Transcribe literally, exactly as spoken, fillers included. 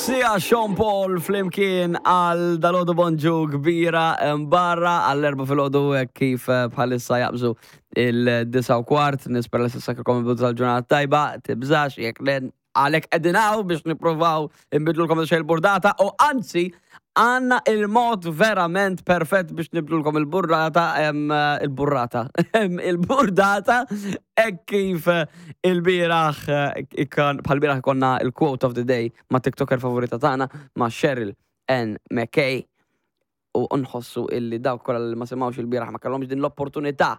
Sia Sean Paul flimkien għal dalgħodu bonġu kbira barra għall-erbgħa filgħodu kif eh, bħalissa jaqbżu id-disgħa u kwart. Nispera li s'issa kellkom il-bidu tal-ġurnata tajba, tibżax, jekk le għalhekk qegħdin hawn biex nippruvaw nbiddlulkom xejn il-burdata u anzi għandna il-mod verament perfett biex nibdlulkom il-burrata, em, il-burrata, em, il-burdata, e kif il-bieraħ, bħal-bieraħ konna il-quote of the day ma' TikToker favorita tagħna ma' Cheryl N. McKay u nħossu illi dawk kollha li ma semawx il-bieraħ ma kellhomx din l-opportunità.